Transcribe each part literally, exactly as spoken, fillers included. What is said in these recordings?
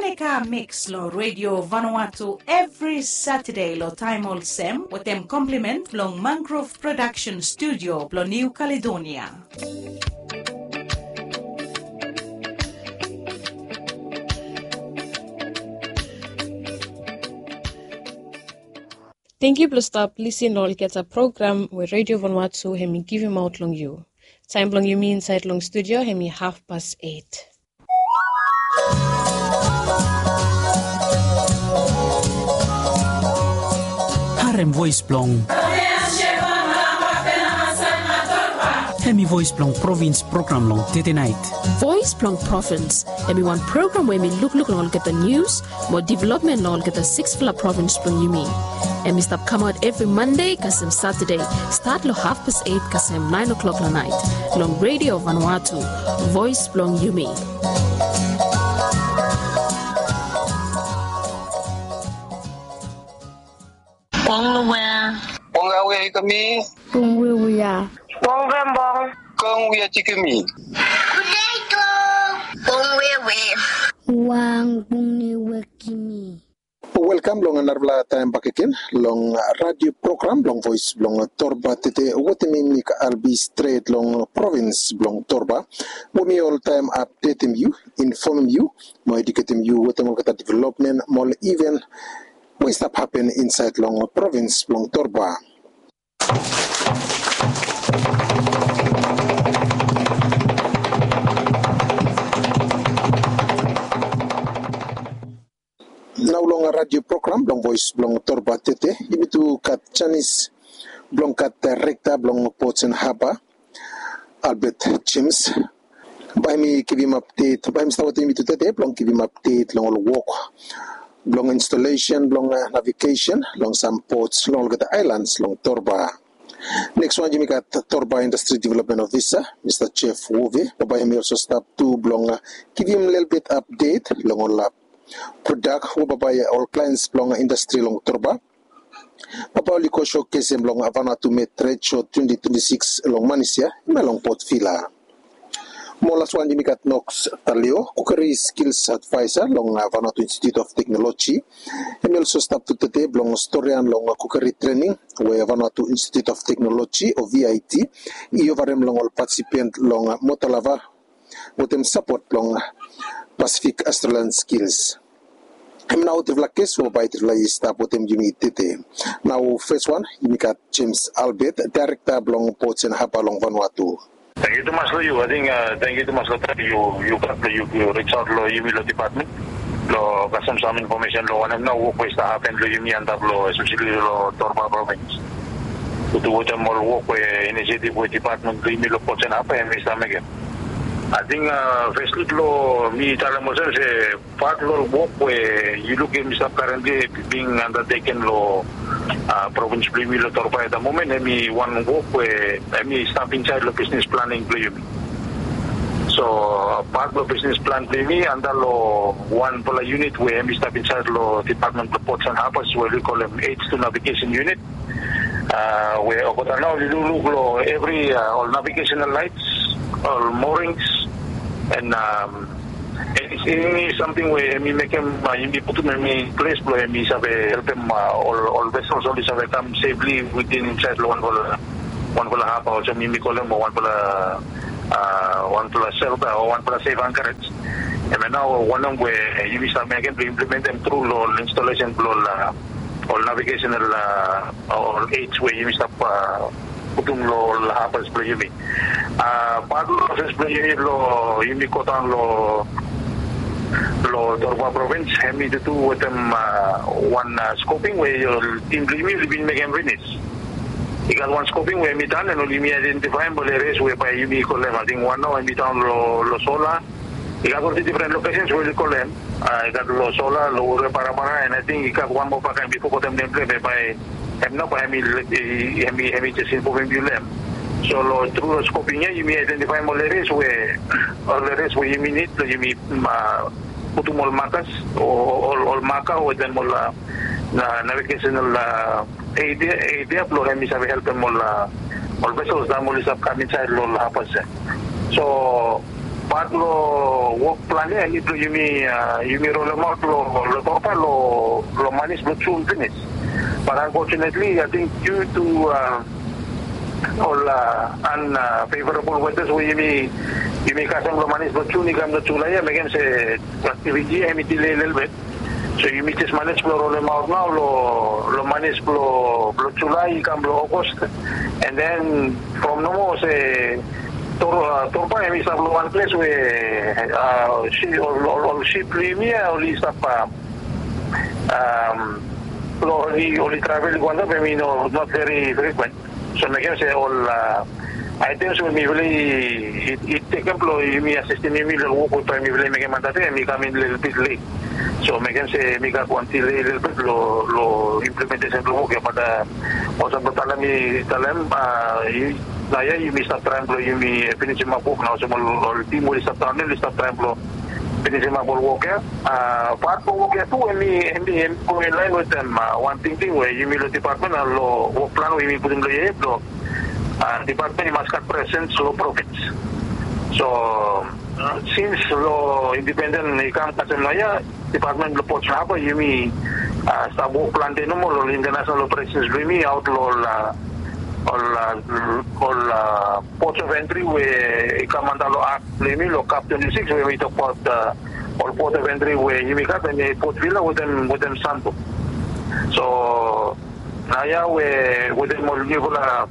Mega Mix lo Radio Vanuatu evri Satade lo taem olsem wetem komplimen blong Mangrove Production Studio blo New Caledonia. Tangkiu blo stap lisin lo olgeta program we Radio Vanuatu hem i givimaot long yu. Taem blong yumi insaed long studio hem i hafpas eit. Harem voes blong. Hem i voes blong provins program long tete naet. Voes blong provins hem i wan program we hem i lukluk long olgeta nius mo developmen long olgeta siksfala provins blong yumi. Hem i stap kamaot evri Mande kasem Satade, stat long hafpas eit kasem naen oklok long naet, long Radio Vanuatu, voes blong yumi. Bong Lawea. Bong Lawea i kami. Bong Wewea. Bong Vembong. Bong Wea Jikimi. Potato. Bong Wewe. Wang Bong Newe Kimi. Welkam long narafala taem bakegen long radio program blong Voes blong Torba. Tede wetem mi Mik Albi stret long provins blong Torba, we mi oltaem apdetem yu, infomem yu mo eduketem yu wetem olgeta developmen mo ol iven we i stap hapen insaed long provins blong Torba. Nao long radio program blong Voes blong Torba tede yumi tu gat janis blong gat daerekta blong Ports and Harbour, Albert James. Bae hem i givim apdet, bae hem i stap wetem yumi tu tede blong givim apdet long ol wok blong installation blong navigesen long sam pots long olgeta aelans long Torba. Neks wan yumi gat Torba Indastri Developmen Ofisa, Mista Jeff Wove, bae hem i olso stap tu blong givim lelebet apdet long ol prodak we bae ol klaens blong indastri long Torba bae oli go showcase hem long Vanuatu Made Trade Show twenty twenty-six long Manis ya, hemia long Port Vila. Mo laswan yumi gat Knox Taleo, Cookery Skills Advisor long Vanuatu Institute of Technology. Hem i olso stap tu tede blong storian long cookery trening we Vanuatu Institute of Technology o V I T i ofarem long ol patisipent long Motalava wetem sapot blong Pacific Australian Skills. Hem nao trifala ges we bae trifala i stap wetem yumi tede. Nao fes wan yumi gat James Albert, daerekta blong Ports and Harbour long Vanuatu. Tangkiu tumas long yu. Ating tangkiu tumas long taem yu gat blong yu ris aot long yumi long depatmen blong kasem sam infomesen long wanem nao wok we i stap hapen long yumi antap long espeseli long Torba provins. Go tu wetem ol wok we inisiativ we depatmen blong yumi long Ports and Harbour hem i stap mekem. Ating fesli blong mi talem olsem se pat long ol wok we yu lukim i stap karentli bing andateken long provins blong yumi long Torba eta momen hem i wan wok we hem i stap insaed long bisnis planing blong yumi. So pat blong bisnis plan blong yumi antap long wanfala yunit we hem i stap insaed long depatmen blong Ports and Harbours we oli kolem H two Navigation Unit. We olgeta nao oli lukluk long evri ol navigesenal laets, ol morings, and eni samting we hem i mekem yumi putum hem i ples blong hem i save helpem ol vesels oli save kam sefli witin insaed long wanfala haba olsem yumi kolem o wanfala wanfala selta o wanfala sef ankarej. Hemia nao wanem we yumi stap mekem blong implementem tru long ol installesen blong ol navigesenal ol aids we yumi stap putum long ol habas blong yumi. Pat long proses blong yumi blong yumi godaon long Torba provins hem i tutu wetem wan skoping we ol tim blong yumi oli bin mekem finis. I gat wan skoping we hem i daon and oli yumi aedentifaem ol erias we bae yumi kolem. Ating wan nao hem i daon long Sola. I gat ol difren lokesens we oli kolem. I gat long Sola, long Ure, Parapara, and ating i gat wan moa baka hem i fogetem nem blong hem, bae hem nao bae hem i jes infomem yu long hem. So long tru long skoping ya yumi aedentifaem ol erias we ol erias we yumi nid blong yumi putum ol makas o ol maka wetem ol navigesenal eid ya blong hem i save helpem ol vesels taem oli stap kam insaed long ol habas ya. So Pat lo wok plan ya em i blo yumi, yumi rolemaot lo Torba lo manis blo Jun finis. But unfortunately, I think due to ol unfavorable weathers we yumi kasem lo manis blo Jun i kam lo Julai ya mekem se aktiviti ya em i delay lelebet. So yumi jes manis blo rolemaot nao lo manis blo Julai i kam lo August. And then from nomo se Torba em i stap lo wan ples we ol sip blo yumi ya oli stap lo oli travel i go antap em i not very frequent. So mekem se ol items we mifala i tekem blo yumi asistem yumi lo wok we bae mifala i mekem antap ya em i kam in lelebet let. So mekem se mi gat wan delay lelebet lo implementation blo wok ya, but olsem blo talem i talem, naoia yumi stap traem blo yumi finisimap wok nao olsem ol tim we oli stap daon ya oli stap traem blo finisimap ol wok ya. Pat blo wok ya tu em i em i em i go inlaen wetem wan tingting we yumi lo dipatmen lo wok plan we yumi putum lo yeye blo dipatmen i mas gat presens lo provins. So sins lo indipenden i kam kasem naoia, dipatmen blo Port Harbour yumi stap wok plante nomo lo ol international operations blo yumi aot lo ol ol ports of entry we i kam antap lo ak blo yumi lo kap twenti sikis we i tokbaot ol port of entry we yumi gat em i Port Vila wetem Santo. So naoia we wetem ol niufala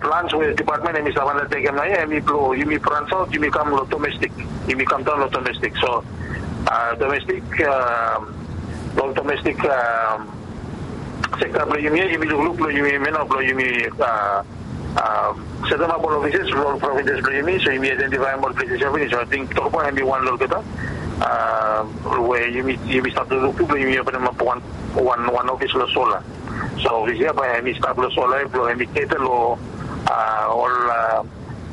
plans we dipatmen em i stap andatekem naoia em i blo yumi brans aot yumi kam lo domestik, yumi kam daon lo domestik. So domestik, ol domestik sekta blo yumi ya yumi lukluk blo yumi hemia nao blo yumi setemap ol ofises blo ol provinses blo yumi, so yumi aedentifaem ol pleses ya finis. So ating Torba em i wan lo olgeta we yumi stap lukluk tu blo yumi openemap wan wan ofis lo Sola. So ofis ya bae em i stap lo Sola ya blo em i keta lo ol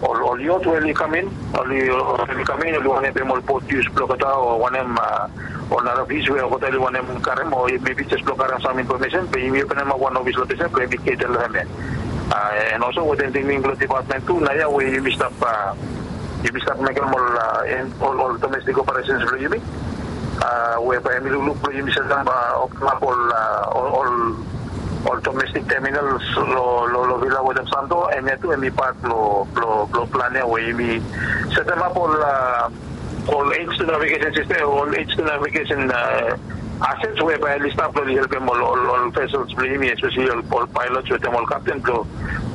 ol ol yot we oli kam in, oli oli kam in oli wantem pem ol bot yus blo olgeta o wantem ol nara fis we olgeta oli wantem karem o mebi jes blo karem sam infomesen be yumi openemap wan ofis lo ples ya blo em i keta lo hem ya. And olso wetem tingting blo dipatmen tu naoia we yumi stap yumi stap mekem ol ol domestik operesens blo yumi we bae em i lukluk blo yumi setemap ol ol ol domestik terminals lo lo Vila wetem Santo, hemia tu em i pat blo blo blo plan ya we yumi setemap ol ol age to navigation system, ol age to navigation assets we bae oli stap blo oli helpem ol ol ol vessels blo yumi, especially ol ol pilots wetem ol kapten blo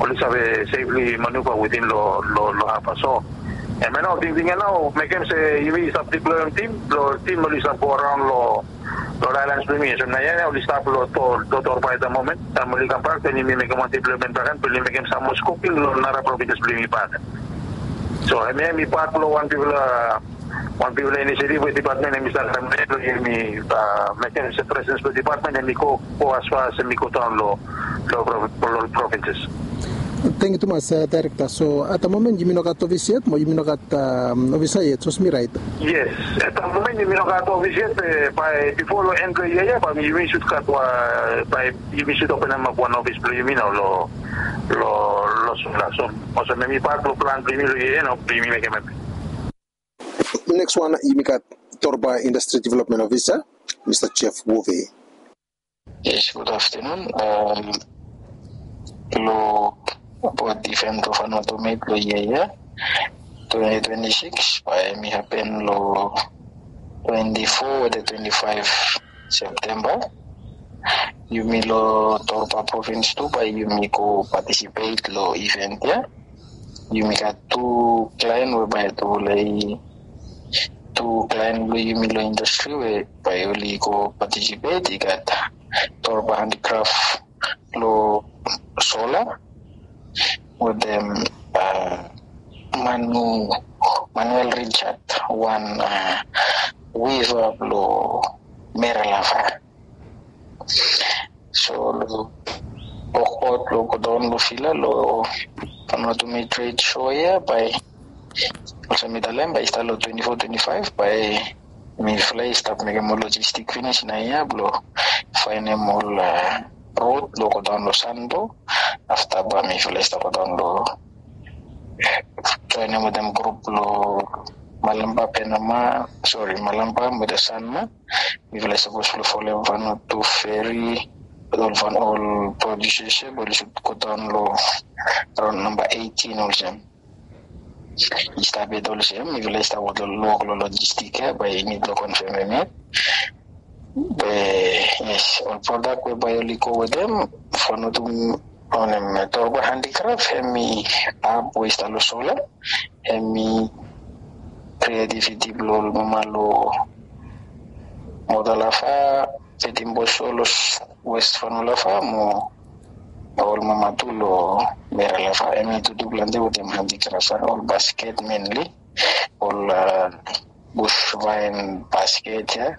oli save safely maneuver within lo lo lo harbour. So hemia nao tingting ya nao mekem se yumi stap diploem tim blo tim oli stap go araon lo lo ol aelans blo yumi. So naoia oli stap lo Torba at the moment. Taem oli kambak den yumi mekem wan diplomen bakegen blo oli mekem sam moa skoping lo nara provinses blo yumi bakegen. So hemia em i pat blo wan bigfala wan bigfala inisiativ we dipatmen em i stap mekem blo yumi mekem se presens blo dipatmen em i go go as far as em i go daon lo lo ol provinses. Tangkiu tumas, Daerekta. So at the moment yumi no gat ofis yet mo yumi no gat ofisa yet, sapos mi raet? Yes, at the moment yumi no gat ofis yet, be bae bifo lo en blo yia ya bae yumi sud gat wan, bae yumi sud openemap wan ofis blo yumi nao lo lo lo Sula. So olsem em i pat blo plan blo yumi lo yia ya nao blo yumi mekem hemia. Neks wan yumi gat Torba Indastri Developmen Ofisa, Mista Jeff Wove. Yes, gud aftenun. Lo bot event of an automate lo yia ya twenti twenti sikis bae em i hapen lo twenti fo wetem twenti faev Septemba. Yumi lo Torba provins tu bae yumi go patisipet lo event ya. Yumi gat tu klaen we bae tu lae tu klaen blo yumi lo indastri we bae oli go patisipet i gat Torba Handicraft lo Sola wetem Manu Manuel Richard, wan wiva blo Meralava. So lo wokbaot lo godaon lo Vila lo Vanuatu Made Trade Show ya bae olsem mi talem bae i stat lo twenti fo twenti faev bae mifala i stap mekem ol lojistik finis naoia blo faenem ol rod blo godaon lo Santo. Afta bae mifala i stap godaon lo joenem wetem grup blo Malampa, Penama, sori, Malampa wetem Sanma. Mifala i sapos blong folem Vanuatu Ferry wetem ol Van, ol producers ia, bae oli sud go daon long raon namba eighteen olsem. I stap yet olsem, mifala i stap wok long, long logistik ia, bae i nid long konfemem yet. Be yes, ol prodak we bae oli go wetem, Vanuatu, wanem, Torba Handicraft, hemi hap we i stap long Sola, hemi creativity blong ol mama long Motalafa, Petimboso long West Fanua Lafa mo ol mama tu long Mera Lafa. Hemi tutu plante wetem handicraft, ol basket mainly, ol, uh, bush vine basket ia,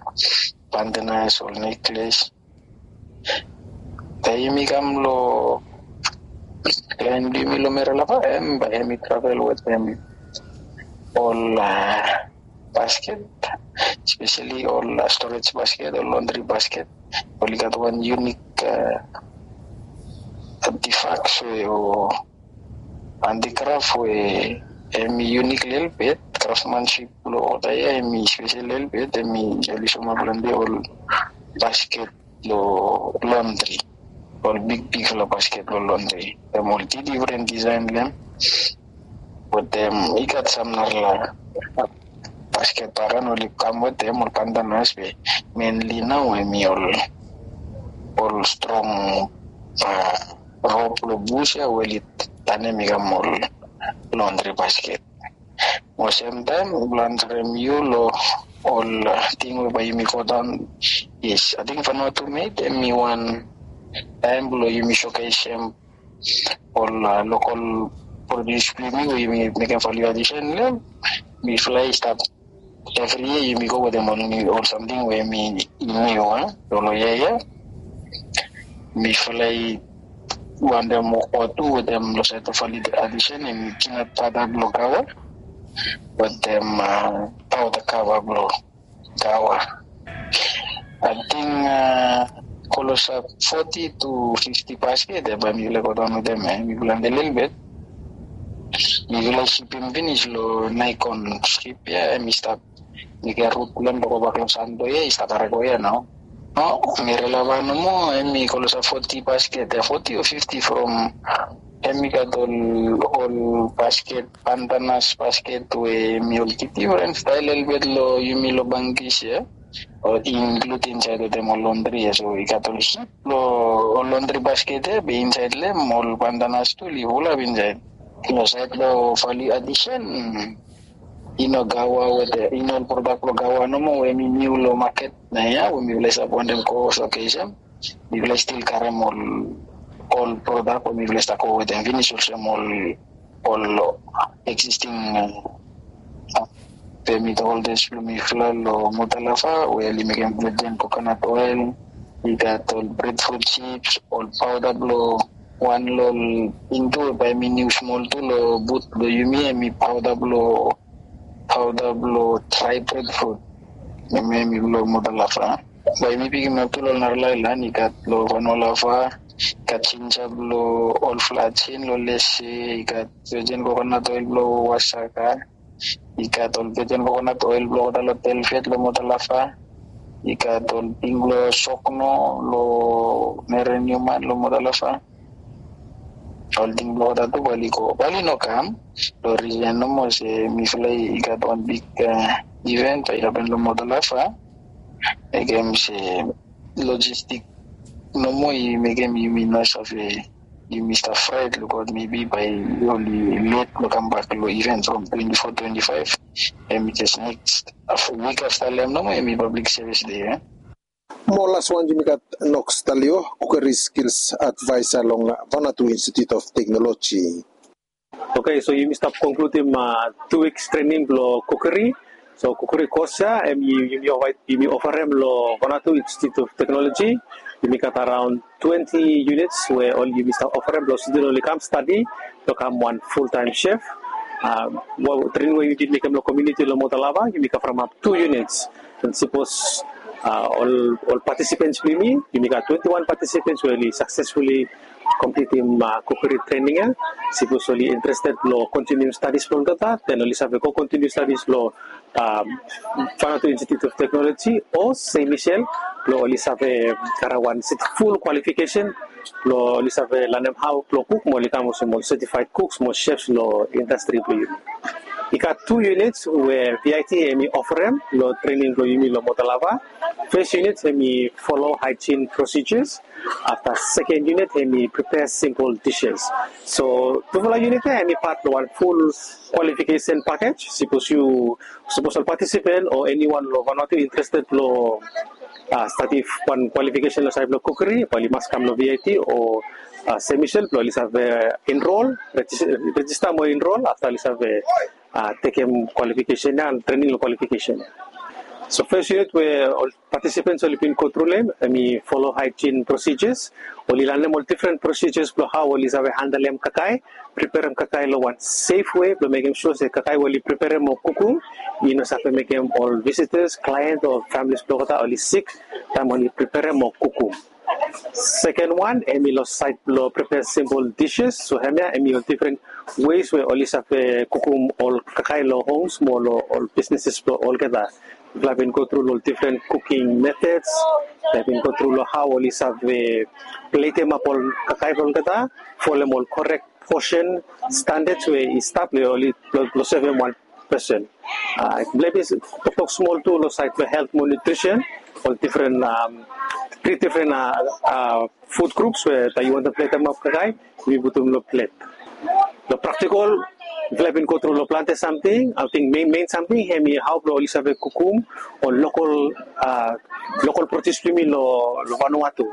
pandanus, ol necklace. Taem yumi kam long laen blong yumi long Mera Lafa, hem bae hemi travel wetem ol, uh, basket, especially ol, uh, storage basket, ol laundry basket. Oli gat wan unique, uh, artifacts we, o handicraft we hemi unique lelebet, craftsmanship blong olgeta ia hemi special lelebet, hemi oli soemaot plante ol basket long laundry, ol bigbigfala basket long laundry. Hem ol difren disaen blong hem. Wetem i gat sam narafala basket bae oli kam wetem ol pandanus, be mainly nao hemi ol, ol strong, uh, rop long bus ia we oli tanem i kam ol laundry basket. Mo semtaem blong ansarem yu long ol, uh, ting we bae yumi go daon. Yes, ating Vanuatu Made hemi wan taem blong yumi showcasem ol, uh, local produce blong yumi we yumi mekem value addition long hem. Mifala i stap evri yia yumi go wetem ol niu, ol samting we hemi niu, a, long yia ia. Mifala i wantem wokbaot tu wetem long saed blong value addition, hemi peanut butter blong Gaua wetem, uh, powder kava blong Gaua. Ating, uh, klosap foti tu fifti basket ia bae mifala i go daon wetem ia, mifala i lelebet. Mifala i sipim finis long Nikon sip ia, hemi stap, mekem rut blong hem blong gobak long Santo ia, i stap harem go ia nao. No, Mera Lafa nomo hemi klosap foti basket ia, foti o fifti from, hemi gat ol, ol basket, pandanus basket we hemi ol difren stael lelebet long yumi long Bangkis ia. Ol inklud insaed wetem ol laundry ia, so i gat ol hip long ol laundry basket ia, be insaed long hem ol pandanus tu oli fulap insaed. Long saed blong value addition, i no Gaua wetem, i no ol prodak blong Gaua nomo we hemi niu long maket nao ia we mifala i stap wantem go showcasem. Mifala i stil karem ol, ol prodak we mifala i stap go wetem finis olsem ol, ol existing, uh, permit holders blong mifala long Motalafa we oli mekem virgin coconut oil, i gat ol breadfruit chips, ol powder blong wan long ol indu we bae hemi niu smol tu long but blong yumi, hemi powder blong, powder blong dry breadfruit. Hemi, hemi blong Motalafa. Bae yumi pikimap tu long ol narafala aelan, i gat long Vanua Lafa, i gat jinja blong ol Flajen long Lese, i gat virgin coconut oil blong Wasaka, i gat ol virgin coconut oil blong olgeta long Telfet long Motalafa, i gat ol ting blong Sokno long Meren Newman long Motalafa. Ol ting blong olgeta tu bae oli go, bae oli no kam long risen nomo se mifala i gat wan big, uh, event bae i hapen long Motalafa. Mekem se logistik nomo i mekem yumi no save, yumi stap fraet, lukaot, maybe bae oli let blong kambak long event from twenty-four, twenty-five. Hemi jes next, uh, wik afta long hem nomo hemi public service day, eh? Mo laswan yumi gat Knox Talio, Cookery Skills Advisor long Vanuatu Institute of Technology. Okay, so yumi stap konkludim, uh, tu wiks trening blong cookery. So cookery kos ia, hemi, yumi ofaet, yumi ofarem long Vanuatu Institute of Technology. Yumi gat araon twenti units we oli, yumi stap ofarem blong student oli kam stadi blong kam wan full time chef. Uh, trening we yumi mekem long komuniti long Motalafa, yumi kavremap tu units. And sapos, uh, ol, ol participants blong yumi, yumi gat twenti-wan participants we oli successfully kompletem, ah, kukri trening ya. Sipos oli interested blong kontinium stadis blong olgeta, den oli save go kontinium stadis blong, ah, Vanuatu Institute of Technology o Saint Michael blong oli save karem wan set ful kwalifikesen blong oli save lanem hao blong kuk mo oli kam olsem ol certified cooks mo chefs long indastri blong yumi. I gat tu units we V I T hemi oferem long trening blong yumi long Motalava. Fes unit hemi follow hygiene procedures. Afta seken unit hemi prepare simple dishes. So tufala unit ya hemi pat long wan ful qualification package. Sipos yu, sipos ol participant o eniwan long Vanuatu interested long, ah, stadi wan qualification long saed blong kukri, bae oli mas kam long V I T o, ah, Saint Michael blong oli save enroll, regis-, register mo enroll, afta oli save, ah, tekem qualification ya, trening long qualification ya. So fes unit we ol participants oli bin go tru long hem, hemi follow hygiene procedures. Oli lanem ol different procedures blong hao oli save handlem kakae, preperem kakae long wan safe way blong mekem sua se kakae we oli preperem o kukum i no save mekem ol visitors, client o families blong olgeta oli sik taem oli preperem o kukum. Seken wan hemi long saed blong prepare simple dishes. So hemia hemi ol different ways we oli save kukum ol kakae long homes mo long ol businesses blong olgeta. Mifala bin go tru long different cooking methods. Mifala bin go tru long hao oli save platem ap ol kakae blong olgeta, folem ol correct portion standards we i stap long oli blong, blong sevem wan person. Ah, mifala bin toktok smol tu long saed blong health mo nutrition, ol different, um, three different, ah, ah, food groups we taem yu wantem platem ap kakae, yu putum long plate. Long practical, mifala bin go tru long plante samting. Ating main, main samting hemi hao blong oli save kukum ol local, ah, local produce blong yumi long, long Vanuatu.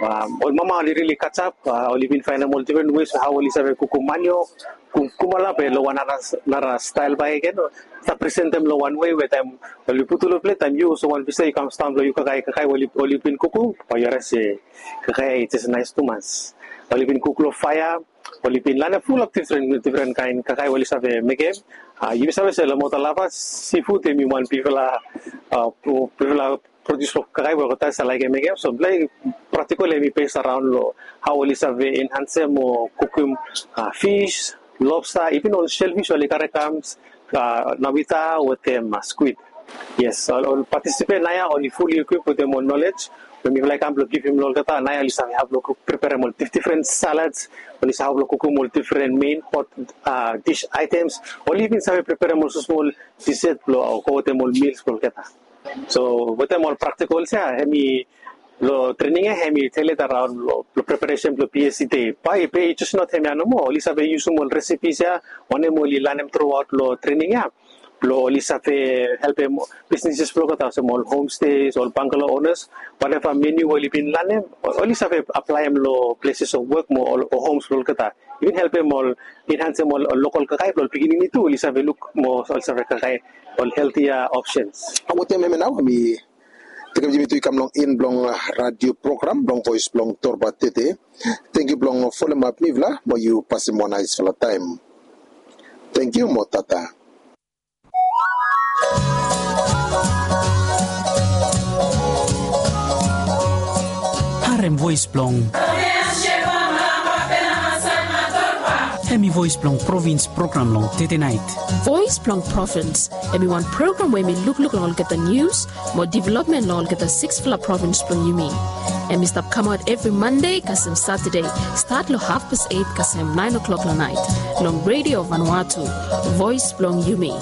Um, ol mama oli really catch up, ah, oli bin faenem ol different ways hao oli save kukum maniok, kum-, kumkumala be long wan nara, nara style bakegen. Stap presentem long wan way we taem oli putum long plate, taem yu olsem wan visita yu kam sidaon blong yu kakae, kakae we oli, oli bin kukum, bae yu realize se kakae i jes naes tumas. Oli bin kuk long faea, oli bin lanem fulap different, different kaen kakae we oli save mekem. Ah, yumi save se long Motalava, seafood hemi wan bigfala, ah, bigfala produce blong kakae we olgeta i save laekem mekem. So mifala practical hemi based around long hao oli save enhancem o kukum, ah, fish, lobster, even ol shellfish oli karem kam, ah, navita wetem, ah, squid. Yes, ol, ol participant naoia oli fully equipped wetem ol knowledge we mifala i kam blong givim long olgeta. Naoia oli save hao blong kuk, preperem ol dif-, different salads, oli save hao blong kukum ol different main hot, ah, dish items, oli even save preperem ol smosmol dessert blong, ah, go wetem ol meals blong olgeta. So wetem ol practicals ya, hemi long training ya, hemi telet around long, long preparation blong P S C day. Bae, bae i just not hemia nomo. Oli save yusum ol recipes ya wanem oli lanem throughout long training ya blong oli save helpem businesses blong olgeta olsem ol homestays, ol bungalow owners, whatever menu oli bin lanem, oli save aplaem long places of work mo ol, ol homes blong olgeta. Even helpem ol, enhancem ol, ol local kakae blong ol pikinini tu, oli save luk mo oli save kakae ol healthier options. Wetem hemia nao, mi tekem yumi tu i kam long en blong, ah, radio program blong Voes blong Torba Tete. Tangkiu blong folemap mifala, mo yu pasem wan naesfala taem. Tangkiu mo tata. Harem voes blong, hemi voes blong provins program long tete naet. Voes blong Provins, hemi wan program we hemi lukluk long olgeta nius mo developmen long olgeta siksfala provins blong yumi. Hemi stap kamaot evri Mande kasem Satade, stat long hafpast eit kasem naen o'clock long naet, long Radio Vanuatu, voes blong yumi.